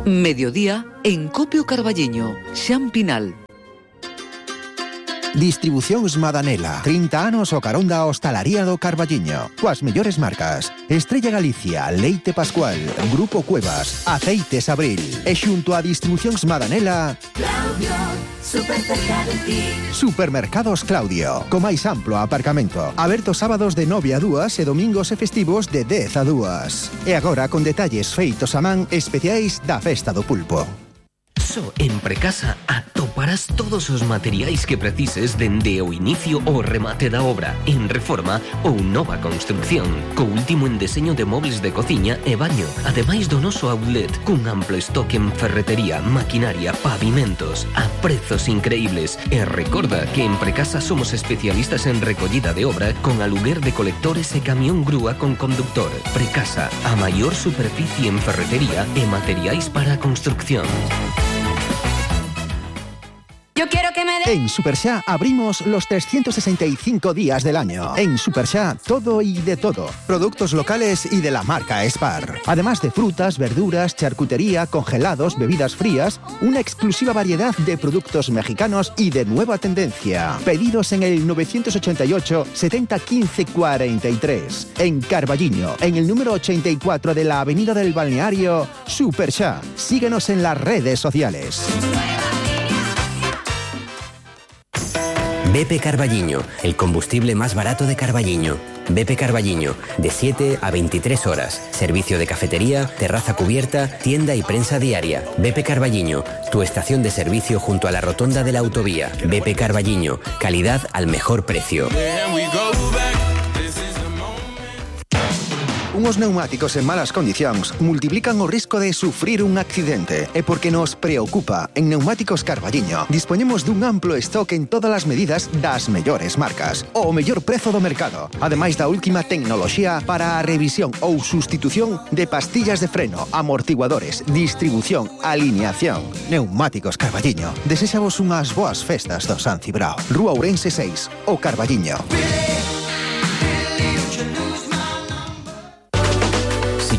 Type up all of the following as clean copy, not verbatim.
Mediodía en Copio Carballiño, Xampinal. Distribucións Madanela, 30 anos o carón da hostalaría do Carballiño. Coas mellores marcas: Estrella Galicia, Leite Pascual, Grupo Cuevas, Aceites Abril. E xunto a Distribucións Madanela, Claudio, super cerca de ti. Supermercados Claudio, co máis amplo aparcamento. Aberto sábados de 9 a 2 e domingos e festivos de 10 a 2. E agora con detalles feitos a man especiais da Festa do Pulpo. Só en Precasa atoparás todos os materiais que precises dende o inicio ao remate da obra, en reforma ou nova construcción, co último en deseño de mobles de cociña e baño, ademais do noso outlet, cun amplo stock en ferretería, maquinaria, pavimentos, a prezos increíbles. E recorda que en Precasa somos especialistas en recollida de obra con aluguer de colectores e camión grúa con conductor. Precasa, a maior superficie en ferretería e materiais para a construcción. Yo quiero que me En Superxá abrimos los 365 días del año. En Superxá, todo y de todo. Productos locales y de la marca Spar. Además de frutas, verduras, charcutería, congelados, bebidas frías, una exclusiva variedad de productos mexicanos y de nueva tendencia. Pedidos en el 988 70 15 43. En Carballiño, en el número 84 de la Avenida del Balneario, Superxá. Síguenos en las redes sociales. BP Carballiño, el combustible más barato de Carballiño. BP Carballiño, de 7 a 23 horas. Servicio de cafetería, terraza cubierta, tienda y prensa diaria. BP Carballiño, tu estación de servicio junto a la rotonda de la autovía. BP Carballiño, calidad al mejor precio. Unos neumáticos en malas condicións multiplican o risco de sufrir un accidente. E porque nos preocupa, en Neumáticos Carballiño dispoñemos dun amplo stock en todas as medidas das mellores marcas. O mellor prezo do mercado. Ademais da última tecnoloxía para a revisión ou sustitución de pastillas de freno, amortiguadores, distribución, alineación. Neumáticos Carballiño. Desexamos unhas boas festas do San Cibrao. Rúa Ourense 6, o Carballiño.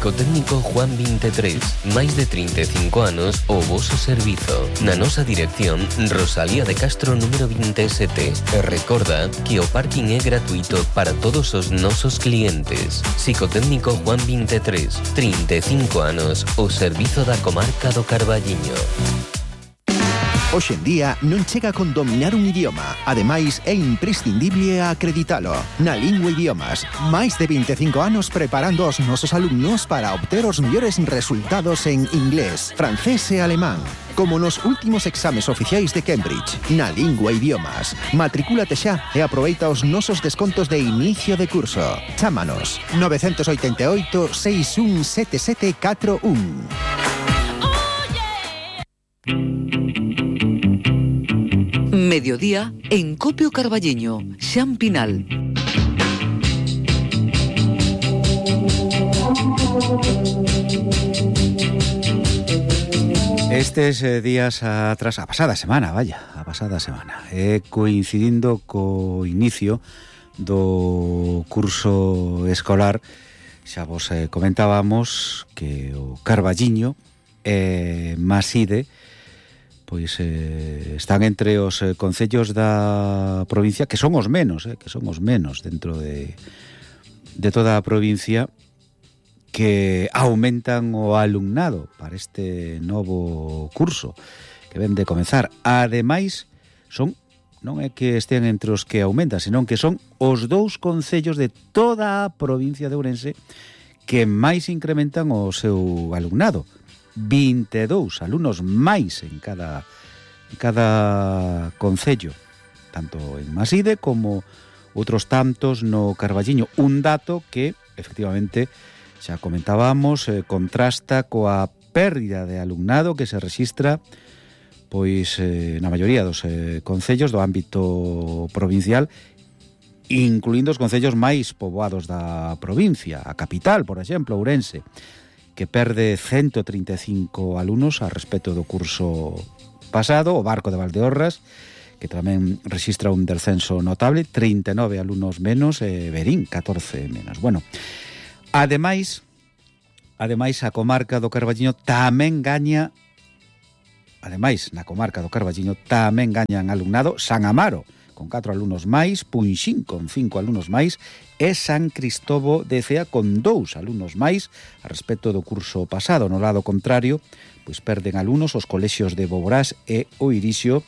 Psicotécnico Juan 23, máis de 35 anos o voso servizo. Na nosa dirección, Rosalía de Castro número 27. E recorda que o parking é gratuito para todos os nosos clientes. Psicotécnico Juan 23, 35 anos, o servizo da comarca do Carballiño. Hoxe en día non chega con dominar un idioma. Ademais, é imprescindible acreditalo. Na Lingua Idiomas, máis de 25 anos preparando os nosos alumnos para obter os mellores resultados en inglés, francés e alemán. Como nos últimos exames oficiais de Cambridge. Na Lingua Idiomas. Matricúlate xa e aproveita os nosos descontos de inicio de curso. Chámanos 988 617741. Mediodía en Copio Carballiño, Xampinal. Estes días atrás, a pasada semana, coincidindo co inicio do curso escolar, xa vos comentábamos que o Carballiño e Maside pois están entre os concellos da provincia que son os menos dentro de toda a provincia que aumentan o alumnado para este novo curso que ven de comezar. Ademais, non é que estén entre os que aumentan, senón que son os dous concellos de toda a provincia de Ourense que máis incrementan o seu alumnado. 22 alumnos máis en cada concello, tanto en Maside como outros tantos no Carballiño. Un dato que, efectivamente, xa comentábamos, contrasta coa pérdida de alumnado que se rexistra pois na maioría dos concellos do ámbito provincial, incluindo os concellos máis poboados da provincia. A capital, por exemplo, Ourense, que perde 135 alumnos a respecto do curso pasado. O Barco de Valdeorras, que tamén rexistra un descenso notable, 39 alumnos menos, e Verín, 14 menos. Bueno, ademais, ademais, a comarca do Carballiño tamén gaña, ademais, na comarca do Carballiño tamén gañan alumnado San Amaro, con 4 alumnos máis, Punxín con 5 alumnos máis e San Cristobo de Cea con 2 alumnos máis a respecto do curso pasado. No lado contrario, pois perden alumnos os colexios de Boborás e o Irixio,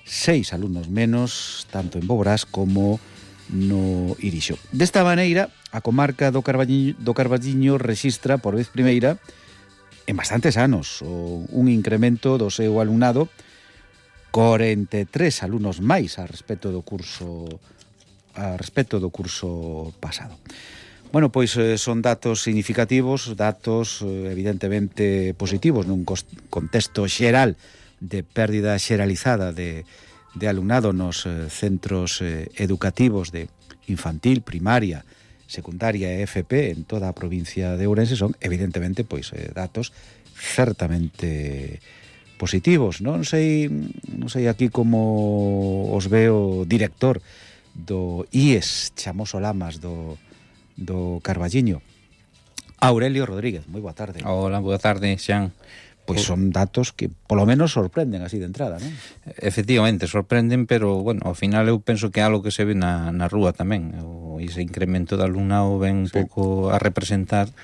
6 alumnos menos, tanto en Boborás como no Irixio. Desta maneira, a comarca do Carballiño rexistra por vez primeira en bastantes anos un incremento do seu alumnado, 43 alumnos máis a respecto do curso pasado. Bueno, pois son datos significativos, datos evidentemente positivos nun contexto xeral de pérdida xeralizada de alumnado nos centros educativos de infantil, primaria, secundaria e FP en toda a provincia de Ourense. Son evidentemente pois datos certamente positivos. Non sei aquí como os veo director do IES Chamoso Lamas do Carballiño, Aurelio Rodríguez. Moi boa tarde. Hola, boa tarde, Xan. Pois son datos que polo menos sorprenden así de entrada, non? Efectivamente, sorprenden, pero, bueno, ao final eu penso que é algo que se ve na rúa tamén. Ese incremento de alumnado ven un pouco a representar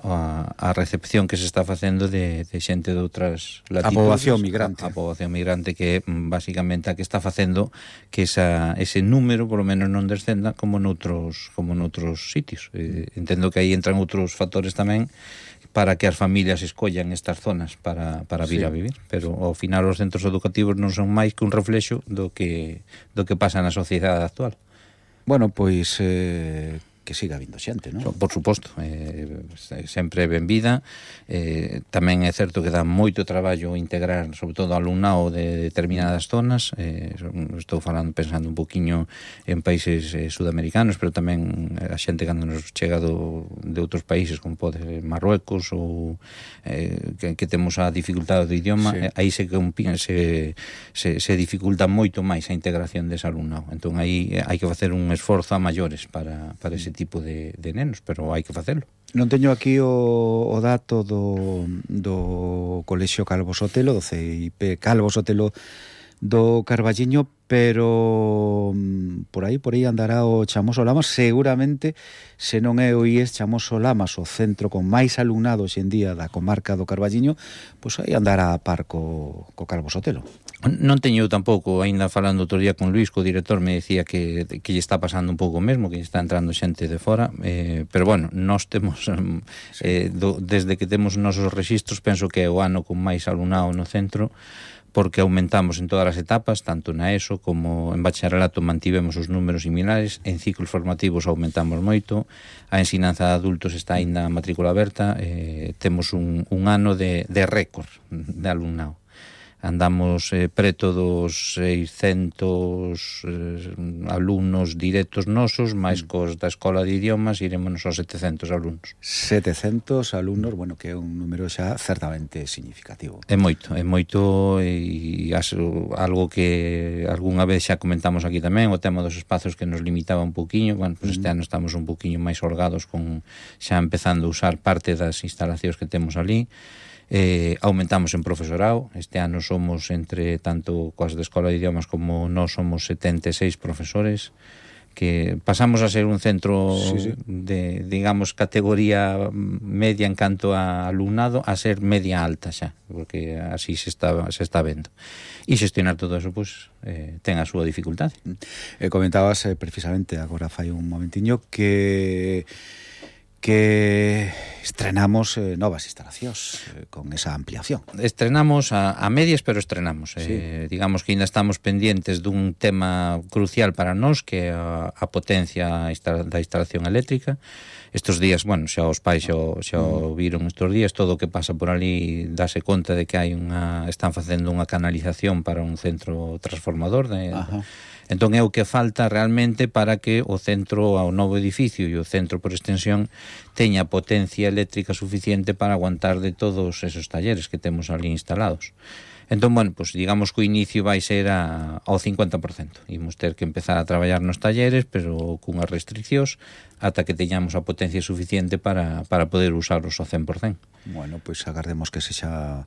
a recepción que se está facendo de xente de outras latitudes. A poboación migrante que é basicamente a que está facendo que ese número polo menos non descenda como noutros sitios. Entendo que aí entran outros factores tamén para que as familias escollan estas zonas para vir a vivir, pero ao final os centros educativos non son máis que un reflexo do que pasa na sociedade actual. Bueno, pois que siga vindo xente, non? Por suposto, sempre ben vida. Tamén é certo que dá moito traballo integrar, sobre todo alumnado de determinadas zonas. Estou pensando un poquinho en países sudamericanos, pero tamén a xente cando nos chega de outros países, como pode ser Marruecos ou que temos a dificultade do idioma, aí se dificulta moito máis a integración dese alumnado. Entón aí hai que facer un esforzo a maiores para ese tipo de nenos, pero hai que facelo. Non teño aquí o dato do Colexio Calvo Sotelo, do CIP Calvo Sotelo do Carballiño, pero por aí andará o Chamoso Lamas. Seguramente, se non é o IES Chamoso Lamas o centro con máis alumnado hoxe en día da comarca do Carballiño, pois aí andará a par co Calvo Sotelo. Non teño tampouco, ainda falando outro día con Luís, co director, me decía que lle está pasando un pouco o mesmo, que lle está entrando xente de fora, pero bueno, nós temos desde que temos nosos rexistros, penso que é o ano con máis alumnado no centro, porque aumentamos en todas as etapas, tanto na ESO como en bacharelato mantivemos os números similares, en ciclos formativos aumentamos moito, a ensinanza de adultos está aínda a matrícula aberta, temos un ano de récord de alumnado. Andamos preto dos 600 alumnos directos nosos, máis cos da Escola de Idiomas, irémonos aos 700 alumnos. 700 alumnos, bueno, que é un número xa certamente significativo. É moito, e algo que algunha vez xa comentamos aquí tamén, o tema dos espazos que nos limitaba un poquinho. Bueno, pues este ano estamos un poquinho máis holgados con xa empezando a usar parte das instalacións que temos ali. Aumentamos en profesorado. Este ano somos, entre tanto coas de Escola de Idiomas como nós, somos 76 profesores, que pasamos a ser un centro de, digamos, categoría media en canto a alumnado, a ser media alta xa, porque así se está vendo. E xestionar todo eso, pois, ten a súa dificultade. Comentabas precisamente agora fai un momentiño que estrenamos novas instalacións con esa ampliación. Estrenamos a medias, pero estrenamos. Digamos que ainda estamos pendientes dun tema crucial para nós, que é a potencia da instalación eléctrica. Estes días, bueno, xa os pais xa o viron estes días, todo o que pasa por ali dáse conta de que están facendo unha canalización para un centro transformador Entón é o que falta realmente para que o centro, ao novo edificio e o centro por extensión, teña potencia eléctrica suficiente para aguantar de todos esos talleres que temos ali instalados. Entón, bueno, pues digamos que o inicio vai ser ao 50%. Imos ter que empezar a traballar nos talleres, pero cunhas restriccións, ata que teñamos a potencia suficiente para poder usaros ao 100%. Bueno, pois agardemos que sexa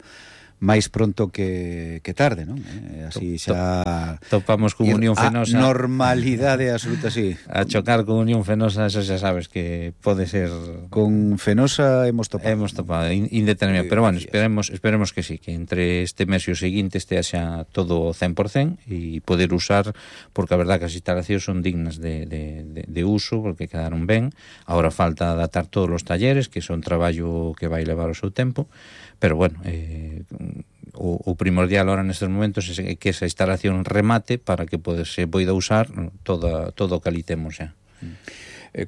máis pronto que tarde, non? Así xa topamos con Unión Fenosa. A normalidade absoluta, sí. A chocar con Unión Fenosa, eso xa sabes que pode ser... Con Fenosa hemos topado indeterminado, pero bueno, esperemos que sí, que entre este mes e o seguinte este xa todo 100% e poder usar, porque a verdad que as instalacións son dignas de uso, porque quedaron ben. Ahora falta adaptar todos os talleres, que son traballo que vai levar o seu tempo, pero bueno, o primordial ahora nestes momentos é que esa instalación remate para que se poida usar todo o que ali temos xa.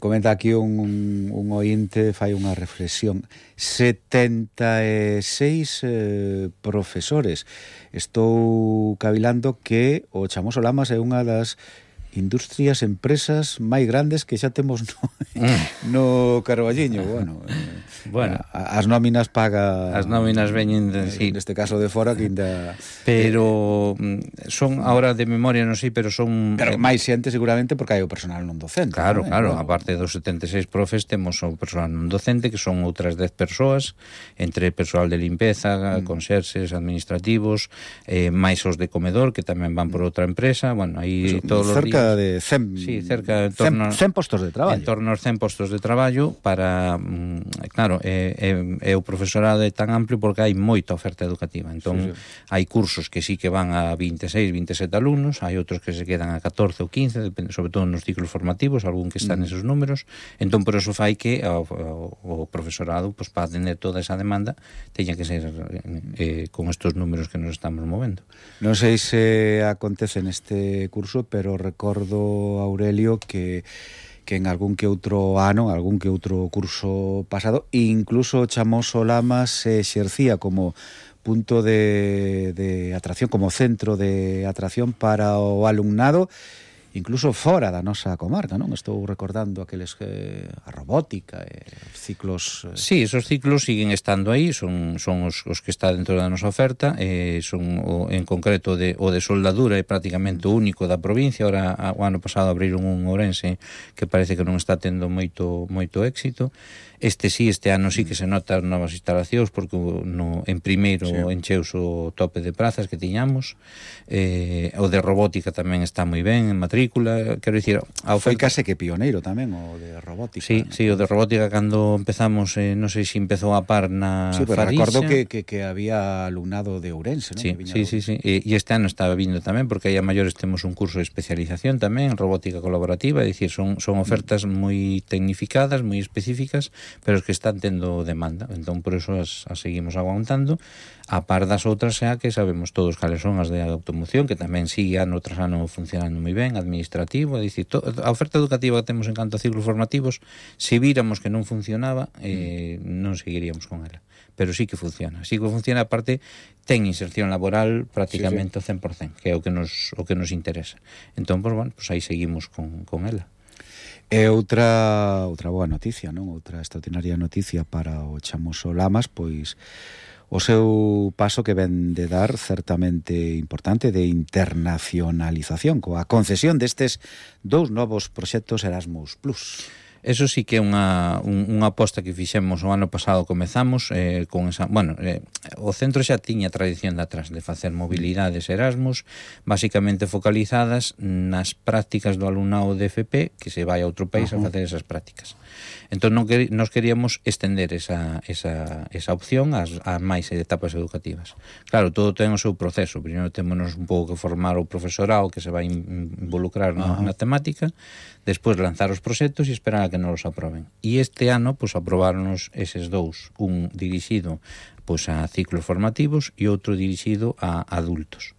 Comenta aquí un ointe, fai unha reflexión. 76 profesores. Estou cavilando que o Chamoso Lamas é unha das industrias, empresas máis grandes que xa temos no Carballiño. Bueno, as nóminas paga... As nóminas veñen, sí. Neste caso de fora, que ainda... Pero son, ahora de memoria non sei, pero son... Pero máis xente seguramente porque hai o personal non docente. Claro, aparte dos 76 profes temos o personal non docente, que son outras 10 persoas, entre persoal de limpeza, conserxes, administrativos, máis os de comedor, que tamén van por outra empresa. Bueno, aí todos os días... de 100, sí, cerca de 100 postos de traballo. En torno aos 100 postos de traballo para, claro, o profesorado é tan amplio porque hai moita oferta educativa. Entón, hai cursos que sí que van a 26, 27 alumnos, hai outros que se quedan a 14 ou 15, depende, sobre todo nos ciclos formativos, algún que están nesos números. Entón, por eso fai que o profesorado, pues, para atender toda esa demanda, teña que ser con estos números que nos estamos movendo. Non sei se acontece neste curso, pero recordo, Aurelio, que en algún que outro ano, algún que outro curso pasado, incluso Chamoso Lamas se exercía como punto de atracción, como centro de atracción para o alumnado, incluso fora da nosa comarca, non? Estou recordando aqueles a robótica, os ciclos... Sí, esos ciclos siguen estando aí, son os que está dentro da nosa oferta, son en concreto o de soldadura, é prácticamente o único da provincia. Ahora, o ano pasado abriron un Ourense que parece que non está tendo moito éxito. Este ano sí que se nota as novas instalacións, porque en primeiro encheus o tope de prazas que tiñamos. O de robótica tamén está moi ben en matrícula, quero dicir, foi case que pioneiro tamén o de robótica. Sí, o de robótica cando empezamos, non sei se empezou a par na Farixa. Recordo que había alumnado de Ourense, non? Sí. E este ano estaba vindo tamén, porque aí a maiores temos un curso de especialización tamén en robótica colaborativa, é dicir, son ofertas moi tecnificadas, moi específicas, pero os que están tendo demanda. Entón, por eso as seguimos aguantando, a par das outras xa que sabemos todos cales son as de automoción, que tamén sigue ano tras ano funcionando moi ben, administrativo, é dicir, a oferta educativa que temos en canto a ciclos formativos, se víramos que non funcionaba, non seguiríamos con ela. Pero sí que funciona, aparte ten inserción laboral prácticamente ao 100%, que é o que nos interesa. Entón, pues, bueno, pues aí seguimos con ela. E outra boa noticia, non? Outra extraordinaria noticia para o Chamoso Lamas, pois o seu paso que ven de dar certamente importante de internacionalización, coa concesión destes 2 novos proxectos Erasmus Plus. Eso sí que é unha aposta que fixemos o ano pasado, comezamos con esa, o centro xa tiña tradición de atrás de facer mobilidades Erasmus, basicamente focalizadas nas prácticas do alumnado de FP que se vai a outro país a facer esas prácticas. Entón nos queríamos estender esa opción ás máis etapas educativas. Claro, todo ten o seu proceso. Primeiro temos un pouco que formar o profesorado que se vai involucrar na temática, despois lanzar os proxectos e esperar a que nos los aproben. E este ano, pues, aprobaronos eses 2, un dirixido, pues, a ciclos formativos e outro dirixido a adultos.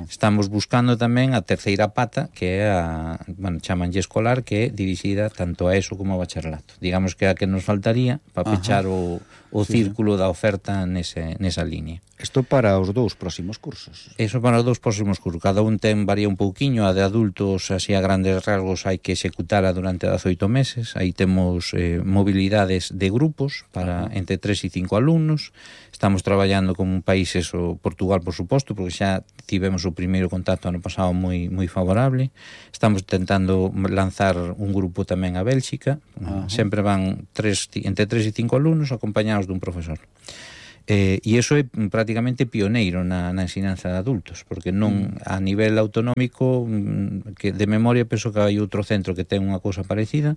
Estamos buscando tamén a terceira pata, que é a, bueno, chamanlle escolar, que é dirixida tanto a ESO como a bacharelato. Digamos que é a que nos faltaría para pechar o círculo da oferta nesa línea. Isto para os dous próximos cursos. Eso para os dous próximos cursos. Cada un varía un pouquiño. A de adultos, así a grandes rasgos, hai que executala durante 18 meses. Aí temos mobilidades de grupos para entre 3 e 5 alumnos. Estamos traballando con países, o Portugal, por suposto, porque xa tivemos o primeiro contacto ano pasado moi favorable. Estamos tentando lanzar un grupo tamén a Bélxica. Sempre van entre 3 e 5 alumnos acompañados dun profesor. E iso é prácticamente pioneiro na ensinanza de adultos, porque non a nivel autonómico, que de memoria penso que hai outro centro que ten unha cousa parecida,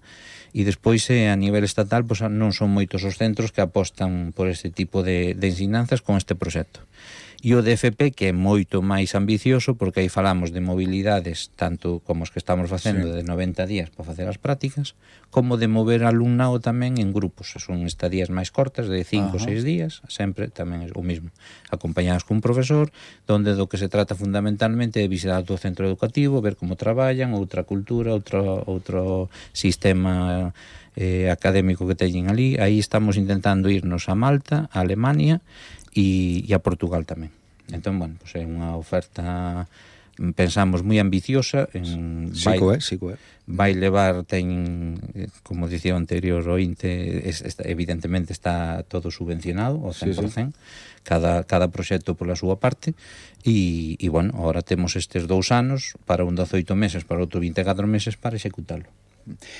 e despois a nivel estatal pois non son moitos os centros que apostan por este tipo de ensinanzas con este proxecto. E o DFP, que é moito máis ambicioso, porque aí falamos de mobilidades tanto como os que estamos facendo de 90 días para facer as prácticas, como de mover alumnado tamén en grupos. Son estadías máis cortas, de 5 ou 6 días, sempre tamén é o mismo, acompañados cun profesor, donde do que se trata fundamentalmente é visitar o centro educativo, ver como traballan, outra cultura, outro sistema académico que teñen ali. Aí estamos intentando irnos a Malta, a Alemania e a Portugal tamén. Entón, bueno, pues é unha oferta, pensamos, moi ambiciosa. Vai levar, como dicía o anterior ointe, evidentemente está todo subvencionado ao 100%, cada proxecto pola súa parte, e bueno, agora temos estes 2 anos para un 18 meses, para outro 24 meses para executalo.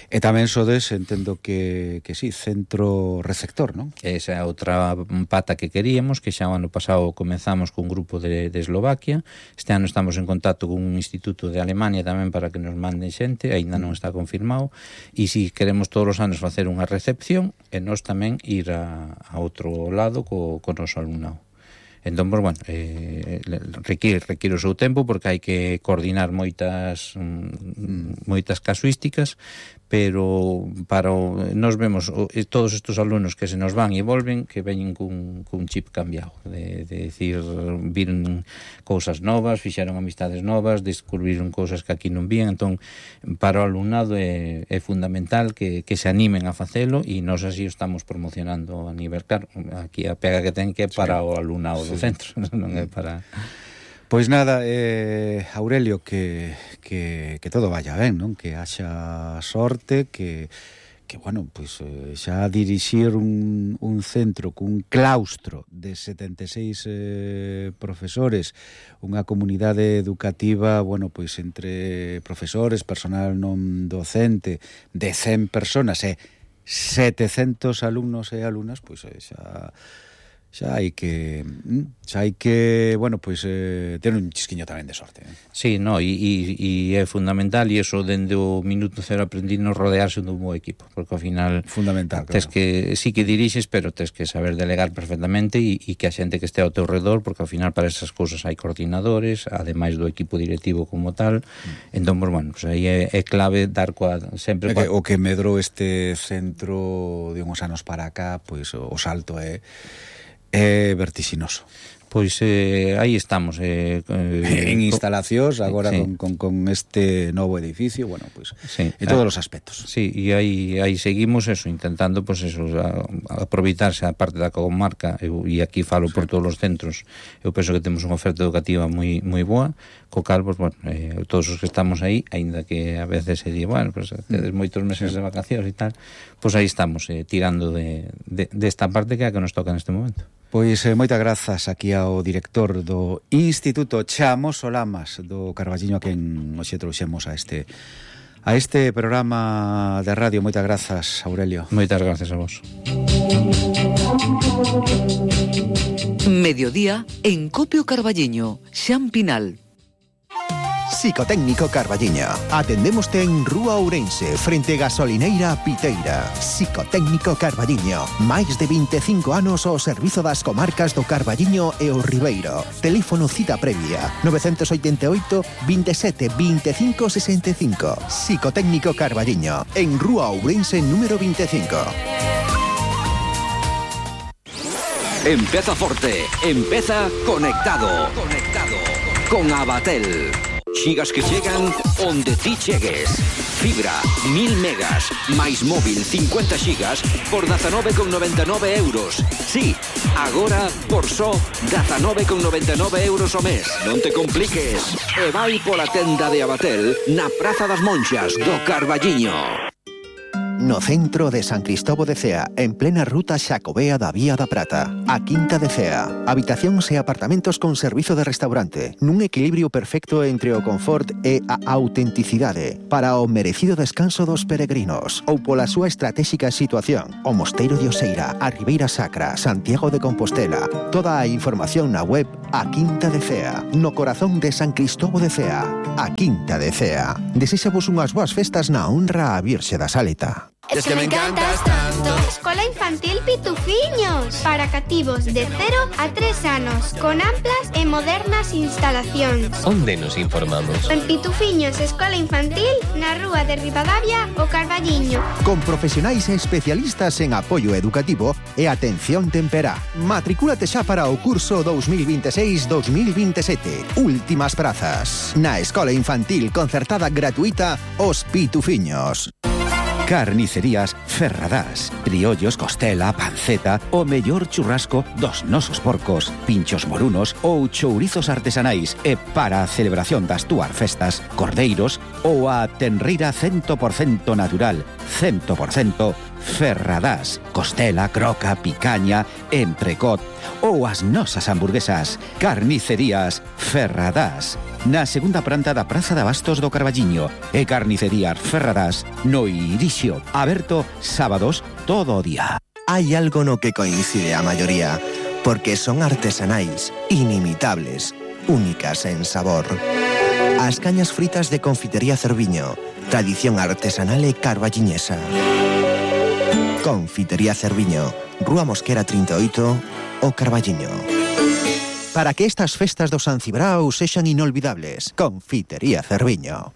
E tamén sodes, entendo que sí, centro receptor, non? Esa é outra pata que queríamos, que xa o ano pasado comenzamos cun grupo de Eslovaquia. Este ano estamos en contacto con un instituto de Alemania tamén para que nos manden xente, aínda non está confirmado, e si queremos todos os anos facer unha recepción e nós tamén ir a outro lado co noso alumnado. Entón, pues, bueno, require o seu tempo, porque hai que coordinar moitas casuísticas, pero nos vemos todos estes alumnos que se nos van e volven, que veñen cun chip cambiado, de decir, viron cousas novas, fixeron amistades novas, descubriron cousas que aquí non vían. Entón, para o alumnado é fundamental que se animen a facelo, e nós así o estamos promocionando a nivel, claro, aquí a pega que ten que é para o alumnado do centro, non é para... Pois nada, Aurelio, que todo vaya ben, non? Que haxa sorte, que bueno, pois xa dirixir un centro cun claustro de 76 profesores, unha comunidade educativa, bueno, pois entre profesores, personal non docente, de 100 personas e 700 alumnos e alumnas, pois xa hai que, bueno, pois ter un chisquiño tamén de sorte. Sí, no, e é fundamental, e eso dende o minuto cero aprendinos rodearse dun bo equipo, porque ao final fundamental, tes que, sí que dirixes, pero tes que saber delegar perfectamente, e que a xente que este ao teu redor, porque ao final para esas cousas hai coordinadores, ademais do equipo directivo como tal. Entón, pues, bueno, pues aí é clave dar sempre o que medrou este centro de uns anos para acá, pois o salto é vertixinoso. Pois aí estamos en instalacións agora, sí, con este novo edificio, bueno, pois sí, en todos os aspectos. Sí, e aí seguimos eso, intentando pois eso, aproveitarse a parte da comarca, e aquí falo por todos os centros. Eu penso que temos unha oferta educativa moi boa, co cal, pues, bueno, todos os que estamos aí, aínda que a veces se di, bueno, pues tedes moitos meses de vacacións e tal, pois aí estamos tirando desta parte que é a que nos toca neste momento. Pois moitas grazas aquí ao director do Instituto Chamos Olamas do Carballiño, a quen hoxe trouxemos a este programa de radio. Moitas grazas, Aurelio. Moitas grazas a vos. Mediodía en Copio Carballiño, Xan Pinal. Psicotécnico Carballiño. Atendémoste en Rúa Ourense, frente Gasolineira Piteira. Psicotécnico Carballiño. Máis de 25 anos ao servizo das comarcas do Carballiño e o Ribeiro. Teléfono cita previa 988 27 25 65. Psicotécnico Carballiño, en Rúa Ourense número 25. Empeza forte, empeza conectado. con Abatel. Xigas que chegan onde ti chegues. Fibra, 1000 megas, máis móvil 50 xigas por 19,99 euros. Sí, agora por só 19,99 euros ao mes. Non te compliques. E vai pola tenda de Abatel na Praza das Monxas do Carballiño. No centro de San Cristóbal de Cea, en plena ruta Xacobea da Vía da Prata, a Quinta de Cea. Habitacións e apartamentos con servizo de restaurante, nun equilibrio perfecto entre o confort e a autenticidade, para o merecido descanso dos peregrinos, ou pola súa estratégica situación, o Mosteiro de Oseira, a Ribeira Sacra, Santiago de Compostela. Toda a información na web A Quinta de Cea, no corazón de San Cristóbal de Cea. A Quinta de Cea. Desexamos unhas boas festas na honra a Virxe da Saleta. Es que me encantas tanto. Escola Infantil Pitufiños, para cativos de 0 a 3 anos, con amplas e modernas instalacións. Onde nos informamos? En Pitufiños Escola Infantil, na rúa de Ribadavia, o Carballiño. Con profesionais e especialistas en apoio educativo e atención temperá. Matricúlate xa para o curso 2026-2027. Últimas prazas. Na Escola Infantil concertada gratuita Os Pitufiños. Carnicerías Ferradás. Criollos, costela, panceta, o mellor churrasco dos nosos porcos, pinchos morunos ou chourizos artesanais. E para a celebración das túas festas, cordeiros ou a tenreira 100% natural, 100% Ferradás. Costela, croca, picaña, entrecot ou as nosas hamburguesas. Carnicerías Ferradás. Na segunda planta da Praza de Abastos do Carballiño. E Carnicerías Ferradás no Irixio. Aberto sábados todo o día. Hai algo no que coincide a maioría, porque son artesanais, inimitables, únicas en sabor. As cañas fritas de Confitería Cerviño, tradición artesanal e carballiñesa. Confitería Cerviño, Rúa Mosquera 38, o Carballiño. Para que estas festas do San Cibrao sexan inolvidables, Confitería Cerviño.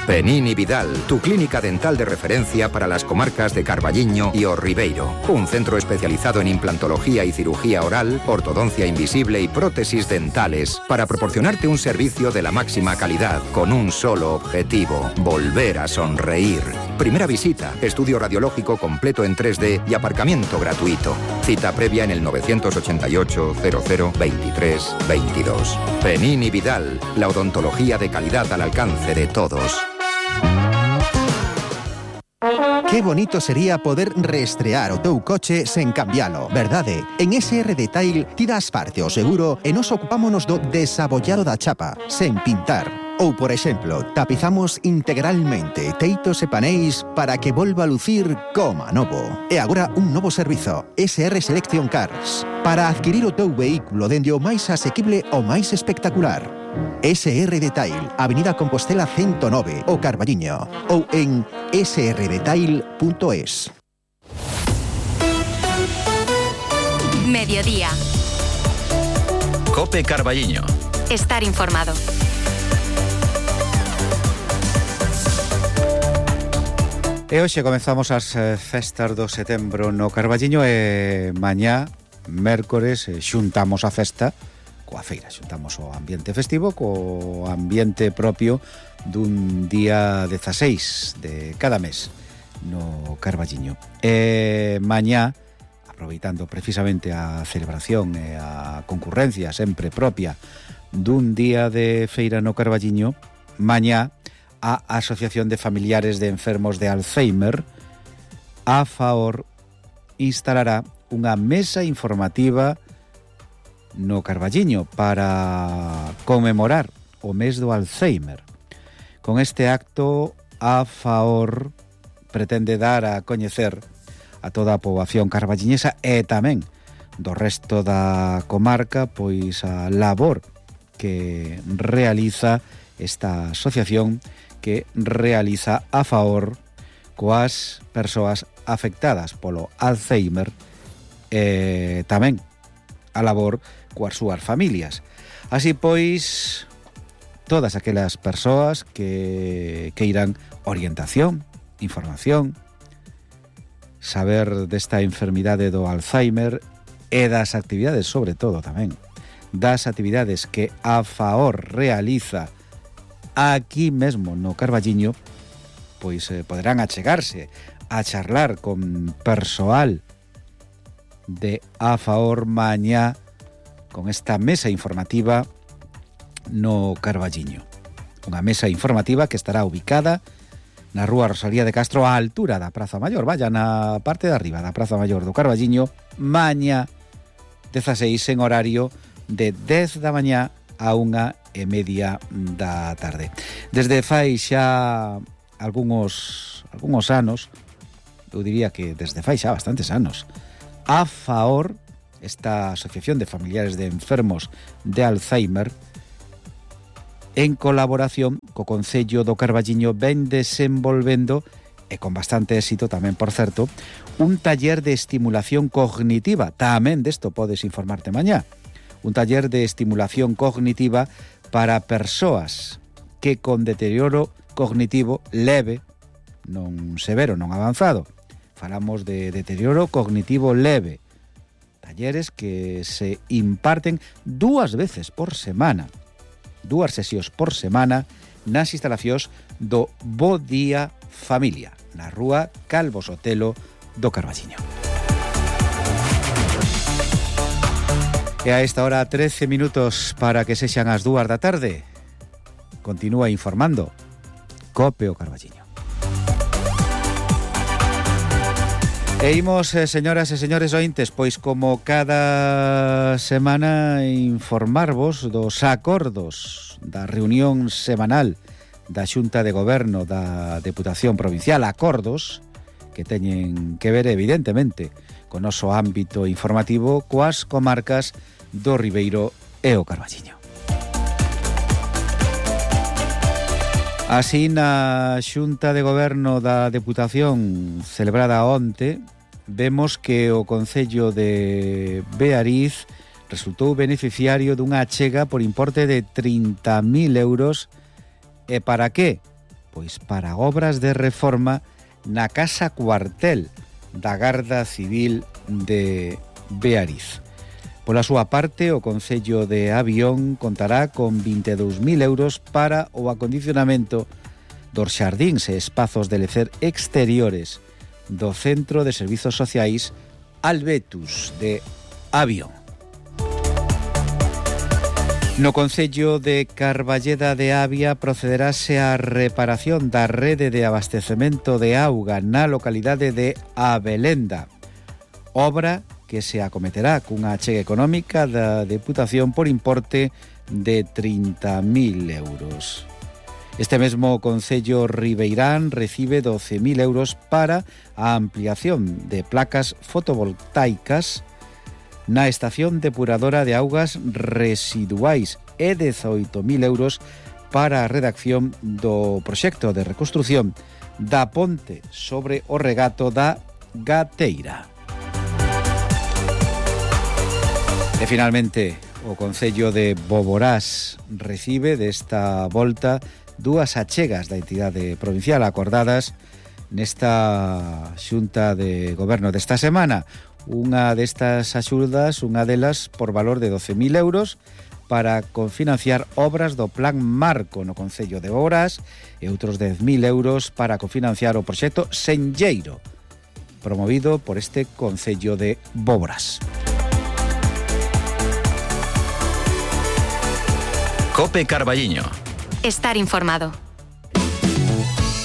Penini Vidal, tu clínica dental de referencia para las comarcas de Carballiño y O Ribeiro. Un centro especializado en implantología y cirugía oral, ortodoncia invisible y prótesis dentales para proporcionarte un servicio de la máxima calidad con un solo objetivo: volver a sonreír. Primera visita, estudio radiológico completo en 3D y aparcamiento gratuito. Cita previa en el 988 00 23 22. Penini Vidal, la odontología de calidad al alcance de todos. Qué bonito sería poder reestrear o teu coche sen cambialo, verdade? En SR Detail ti das parte ao seguro e nos ocupámonos do desabollado da chapa, sen pintar. Ou, por exemplo, tapizamos integralmente teitos e paneis para que volva a lucir como novo. E agora un novo servizo, SR Selection Cars, para adquirir o teu vehículo dende o máis asequible ao máis espectacular. SR Detail, Avenida Compostela 109, o Carballiño, ou en srdetail.es. Mediodía. Cope Carballiño. Estar informado. E hoxe comezamos as festas do setembro no Carballiño e mañá, mércores, xuntamos a festa coa feira, xuntamos o ambiente festivo co ambiente propio dun día 16 de cada mes no Carballiño. E mañá, aproveitando precisamente a celebración e a concurrencia sempre propia dun día de feira no Carballiño, mañá a Asociación de Familiares de Enfermos de Alzheimer, AFAOR, instalará unha mesa informativa no Carballiño para conmemorar o mes do Alzheimer. Con este acto, AFAOR pretende dar a coñecer a toda a poboación carballiñesa e tamén do resto da comarca pois a labor que realiza esta asociación, que realiza AFAOR coas persoas afectadas polo Alzheimer e tamén a labor coas súas familias. Así pois, todas aquelas persoas que queiran orientación, información, saber desta enfermidade do Alzheimer e das actividades, sobre todo tamén, das actividades que a Faor realiza aquí mesmo no Carballiño, pois poderán achegarse a charlar con persoal de a Faor mañá con esta mesa informativa no Carballiño. Unha mesa informativa que estará ubicada na rúa Rosalía de Castro á altura da Praza Maior, vaya na parte de arriba da Praza Maior do Carballiño, mañá 16 en horario de 10 da mañá a 1:30 da tarde. Desde fai xa algúns anos, eu diría que desde fai xa bastantes anos, a Faor, esta Asociación de Familiares de Enfermos de Alzheimer, en colaboración co Concello do Carballiño, ven desenvolvendo, e con bastante éxito tamén, por certo, un taller de estimulación cognitiva. Tamén desto podes informarte mañá. Un taller de estimulación cognitiva para persoas que con deterioro cognitivo leve, non severo, non avanzado. Falamos de deterioro cognitivo leve. Talleres que se imparten 2 veces por semana. 2 sesións por semana nas instalacións do Bo Día Familia, na rúa Calvo Sotelo do Carballiño. E a esta hora 13 minutos para que sexan as 2 da tarde. Continúa informando COPE o Carballiño. E imos, señoras e señores ointes, pois como cada semana informarvos dos acordos da reunión semanal da Xunta de Goberno da Deputación Provincial, acordos que teñen que ver evidentemente con o noso ámbito informativo coas comarcas do Ribeiro e o Carballiño. Así, na Xunta de Goberno da Deputación celebrada onte, vemos que o Concello de Beariz resultou beneficiario dunha achega por importe de 30.000 euros. E para que? Pois para obras de reforma na Casa Cuartel da Garda Civil de Beariz. Pola súa parte, o Concello de Avión contará con 22.000 euros para o acondicionamento dos xardíns e espazos de lecer exteriores do Centro de Servizos Sociais Albetus de Avión. No Concello de Carballeda de Avia procederase á reparación da rede de abastecemento de auga na localidade de Abelenda, obra que se acometerá cunha achega económica da Deputación por importe de 30.000 euros. Este mesmo Concello Ribeirán recibe 12.000 euros para a ampliación de placas fotovoltaicas na estación depuradora de augas residuais e 18.000 euros para a redacción do proxecto de reconstrución da ponte sobre o regato da Gateira. E finalmente, o Concello de Boborás recibe desta volta 2 achegas da entidade provincial acordadas nesta Xunta de Goberno desta semana. Unha destas axudas, unha delas por valor de 12.000 euros para confinanciar obras do Plan Marco no Concello de Boborás e outros 10.000 euros para confinanciar o proxecto Senlleiro, promovido por este Concello de Boborás. COPE Carballiño. Estar informado.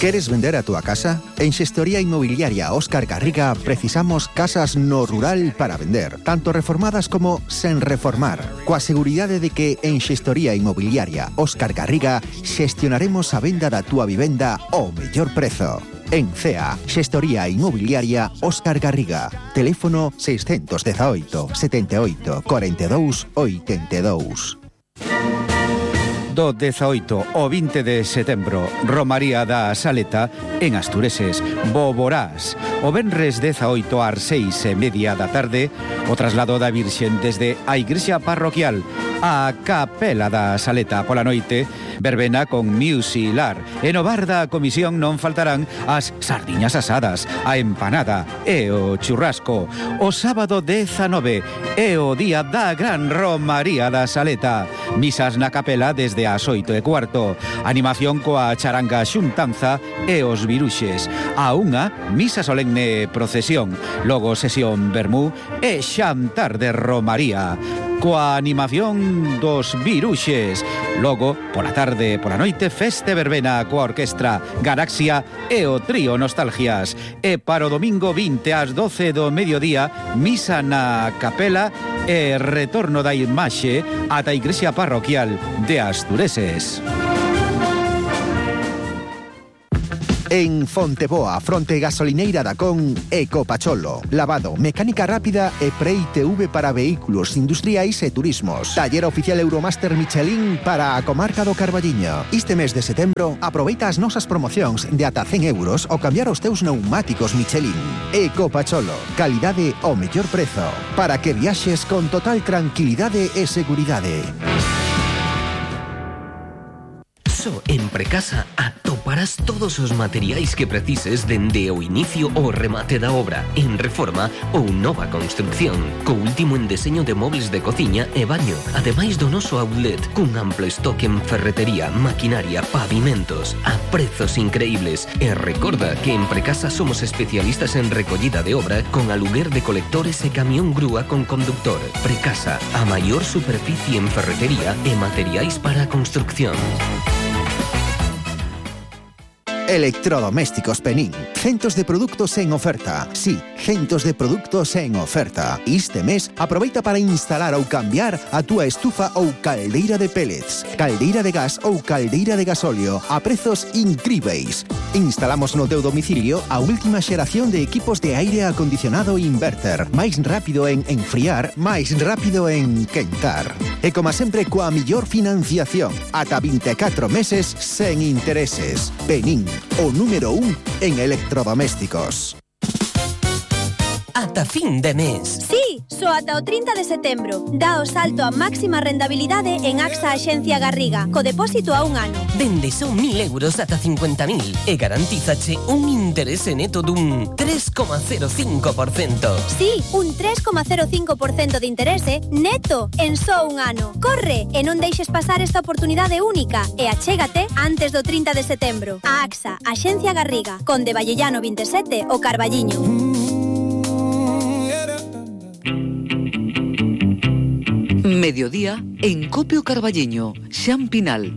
¿Queres vender a tu casa? En Xestoría Inmobiliaria Óscar Garriga precisamos casas no rural para vender, tanto reformadas como sen reformar, coa seguridade de que en Xestoría Inmobiliaria Óscar Garriga xestionaremos a venda da túa vivenda ao mellor prezo. En CEA, Xestoría Inmobiliaria Óscar Garriga. Teléfono 618 78 42 82. Do 18 ao 20 de setembro, Romaría da Saleta en Astureses, Boborás. O venres 18 ás 6:30 da tarde, o traslado da Virxen desde a Igrexa Parroquial A Capela da Saleta pola noite, verbena con Musilar. E no bar da comisión non faltarán as sardiñas asadas, a empanada e o churrasco. O sábado 19 é o día da Gran Romaría da Saleta. Misas na capela desde as 8:15. Animación coa charanga xuntanza e os viruxes. A unha, misa solemne procesión. Logo sesión vermú e xantar de Romaría. Coa animación dos viruxes. Logo, pola tarde, pola noite, feste verbena coa orquestra Galaxia e o trío Nostalgias. E para o domingo 20 ás 12 do mediodía, misa na capela e retorno da imaxe ata a igrexa parroquial de Astureses. En Fonteboa, fronte gasolineira da Con, Ecopacholo. Lavado, mecánica rápida e pre-ITV para vehículos industriais e turismos. Taller oficial Euromaster Michelin para a comarca do Carballiño. Este mes de setembro, aproveita as nosas promocións de ata 100 euros ao cambiar os teus pneumáticos Michelin. Ecopacholo, calidade ao mellor prezo. Para que viaxes con total tranquilidade e seguridade. En Precasa atoparás todos os materiais que precises dende o inicio ao remate da obra, en reforma ou nova construcción, co último en deseño de móveis de cociña e baño, ademais do noso outlet, cun amplo stock en ferretería, maquinaria, pavimentos, a prezos increíbles. E recorda que en Precasa somos especialistas en recollida de obra con aluguer de colectores e camión grúa con conductor. Precasa, a maior superficie en ferretería e materiais para a construcción. Electrodomésticos Penín. Centos de produtos en oferta. Sí, centos de produtos en oferta. Este mes, aproveita para instalar ou cambiar a túa estufa ou caldeira de pellets, caldeira de gas ou caldeira de gasóleo a prezos incríveis. Instalamos no teu domicilio a última xeración de equipos de aire acondicionado inverter. Máis rápido en enfriar, máis rápido en quentar. E como sempre, coa millor financiación. Ata 24 meses sen intereses. Penín, o número 1 en electrodomésticos. Ata fin de mes. Sí, só ata o 30 de setembro. Dá o salto a máxima rentabilidade en AXA Axencia Garriga, co depósito a un ano. Dende son 1.000 euros ata 50.000 e garantízache un interese neto dun 3,05%. Sí, un 3,05% de interese neto en só un ano. Corre e non deixes pasar esta oportunidade única e achégate antes do 30 de setembro. A AXA Axencia Garriga, Conde Vallellano 27, o Carballiño. Mediodía en Copio Carballiño, Xan Pinal.